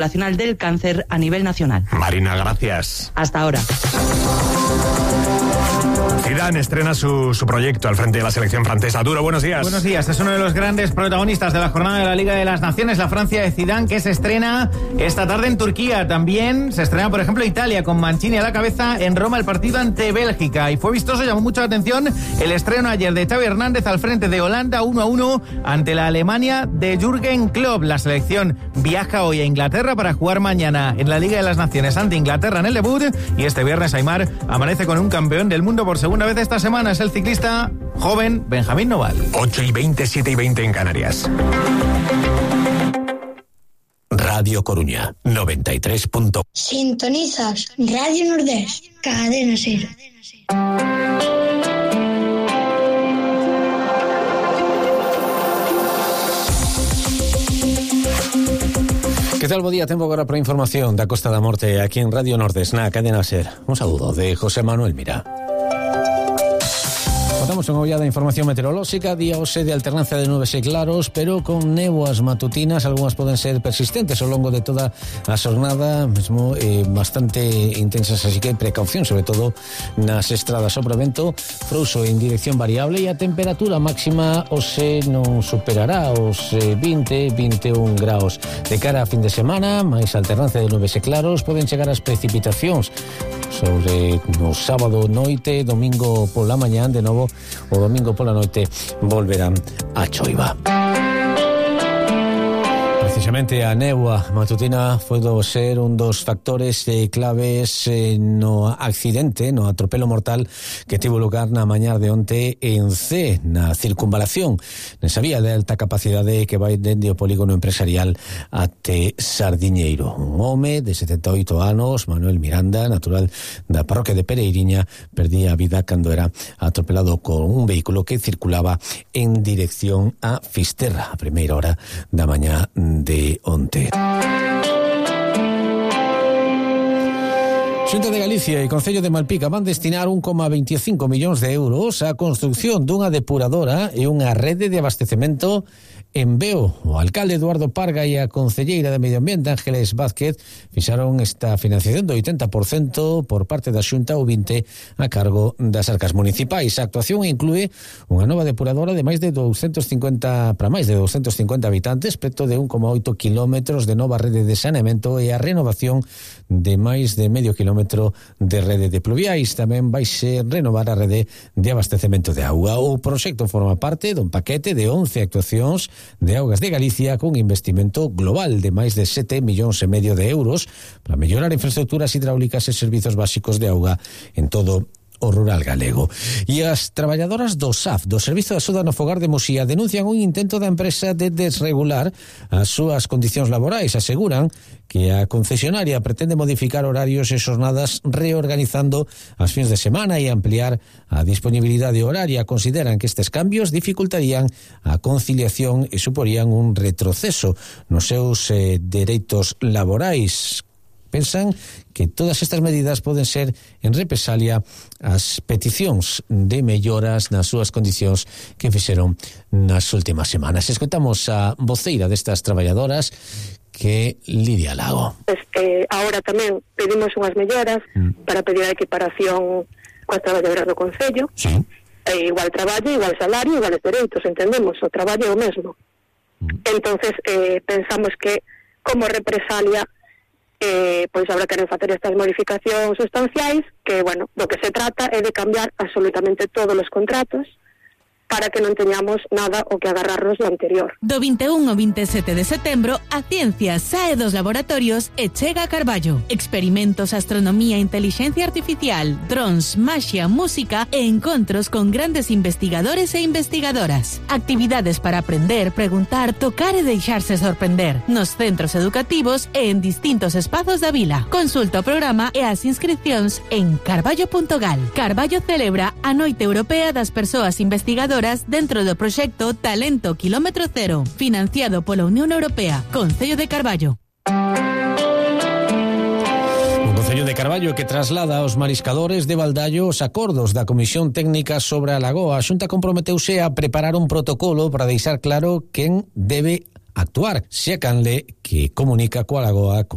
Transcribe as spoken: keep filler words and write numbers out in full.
Nacional del Cáncer a nivel nacional. Marina, gracias. Hasta ahora. Zidane estrena su, su proyecto al frente de la selección francesa. Duro, buenos días. Buenos días. Es uno de los grandes protagonistas de la jornada de la Liga de las Naciones, la Francia de Zidane, que se estrena esta tarde en Turquía. También se estrena, por ejemplo, Italia, con Mancini a la cabeza en Roma, el partido ante Bélgica. Y fue vistoso, llamó mucho la atención el estreno ayer de Xavi Hernández al frente de Holanda, uno a uno ante la Alemania de Jürgen Klopp. La selección viaja hoy a Inglaterra para jugar mañana en la Liga de las Naciones ante Inglaterra en el debut. Y este viernes Aimar amanece con un campeón del mundo por segunda vez esta semana. Es el ciclista joven Benjamín Noval. ocho y veinte, siete y veinte en Canarias. Radio Coruña, noventa y tres punto. Sintonizas Radio Nordés, Cadena Ser. Que tal, bo día? Tempo agora para a información da Costa da Morte aquí en Radio Nordés, na Cadena Ser. Un saúdo de José Manuel Mira. Contamos unha ollada de información meteorolóxica, día hoxe de alternancia de nubes e claros, pero con néboas matutinas, algunhas poden ser persistentes ao longo de toda a xornada, mesmo eh, bastante intensas, así que precaución, sobre todo nas estradas. O vento frouxo en dirección variable e a temperatura máxima hoxe non superará os eh, vinte, vinte e un graus. De cara a fin de semana, máis alternancia de nubes e claros, poden chegar as precipitacións sobre no sábado noite, domingo pola mañán, de novo o domingo pola noite volverán a choiva. Precisamente a néboa matutina foi do ser un dos factores eh, claves eh, no accidente, no atropelo mortal que tivo lugar na mañá de onte en C, na circunvalación, nesa vía de alta capacidade que vai dende o polígono empresarial até Sardiñeiro. Un home de setenta e oito anos, Manuel Miranda, natural da parroquia de Pereiriña, perdía a vida cando era atropelado con un vehículo que circulaba en dirección a Fisterra a primeira hora da mañá de onte. Xunta de Galicia e Concello de Malpica van destinar un coma veinticinco millóns de euros á construción dunha depuradora e unha rede de abastecemento en Veo. O alcalde Eduardo Parga e a concelleira de Medio Ambiente Ángeles Vázquez fixaron esta financiación do oitenta por cento por parte da Xunta ou vinte por cento a cargo das arcas municipais. A actuación inclúe unha nova depuradora de máis de doscientos cincuenta para máis de doscientos cincuenta habitantes, preto de un coma oito kilómetros de nova rede de saneamento e a renovación de máis de medio kilómetro de rede de pluviais. Tamén vai ser renovar a rede de abastecemento de auga. O proxecto forma parte dun paquete de once actuacións de Augas de Galicia cun investimento global de máis de sete millóns e medio de euros para mellorar infraestructuras hidráulicas e servizos básicos de auga en todo o rural galego. E as traballadoras do S A F, do Servizo de Axuda no Fogar de Muxía, denuncian un intento da empresa de desregular as súas condicións laborais. Aseguran que a concesionaria pretende modificar horarios e xornadas reorganizando as fins de semana e ampliar a disponibilidade horaria. Consideran que estes cambios dificultarían a conciliación e suporían un retroceso nos seus eh, dereitos laborais. Pensan que todas estas medidas poden ser en represalia ás peticións de melloras nas súas condicións que fixeron nas últimas semanas. Escoitamos a voceira destas traballadoras, que Lidia Lago. Pues, eh, ahora tamén pedimos unhas melloras mm. para pedir a equiparación coas traballadoras do Concello. Sí. Eh, igual traballo, igual salario, iguales dereitos, entendemos, o traballo é o mesmo. Mm. Entonces, eh, pensamos que como represalia Eh, pois habrá que facer estas modificacións sustanciais que, bueno, do que se trata é de cambiar absolutamente todos os contratos para que non teñamos nada o que agarrarnos do anterior. Do vinte e un ao vinte e sete de setembro, a ciencia sae dos laboratorios e chega a Carballo. Experimentos, astronomía, inteligencia artificial, drons, maxia, música e encontros con grandes investigadores e investigadoras. Actividades para aprender, preguntar, tocar e deixarse sorprender nos centros educativos e en distintos espazos da vila. Consulta o programa e as inscripcións en carballo punto gal. Carballo celebra a Noite Europea das Persoas Investigadoras dentro do proxecto Talento Kilómetro Cero, financiado pola Unión Europea. Concello de Carballo. Un Concello de Carballo que traslada aos mariscadores de Baldallo os acordos da Comisión Técnica sobre a lagoa. A Xunta comprometeuse a preparar un protocolo para deixar claro quen debe actuar. Xécanle que comunica coa Lagoa con